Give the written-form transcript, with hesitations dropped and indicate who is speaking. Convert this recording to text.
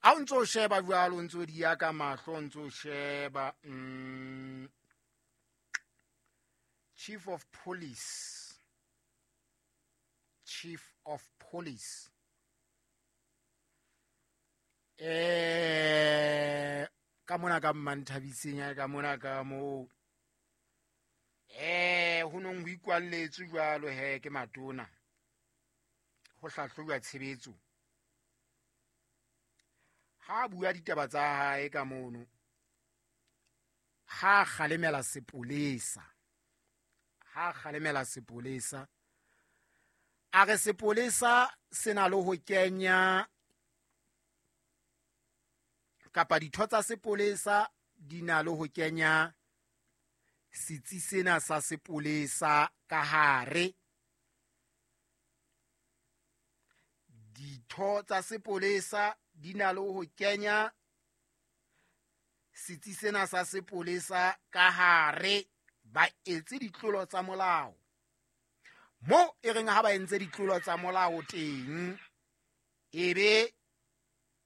Speaker 1: Ha o ntso sheba jwalo, o ntso di ya ka mahlo, o ntso sheba chief of police, chief of police ka mona ka Mmanthabiseng ya ka mona ka moo ho nong ho ikwalletswe jwalo he ke matona ho hlahlojwa tshebetso. Ha bua ditaba tsa hae ka mono, ha kgalemela sepolesa, ha kgalemela sepolesa, a re sepolesa se na le ho kenya kapa ditho tsa sepolesa di na le ho kenya setsi sena sa sepolesa ka hare. Ditho tsa sepolesa di na le ho kenya setsi sena sa sepolesa ka hare, ba etse ditlolo tsa molao. Mo e reng ha ba entse ditlolo tsa molao teng, ebe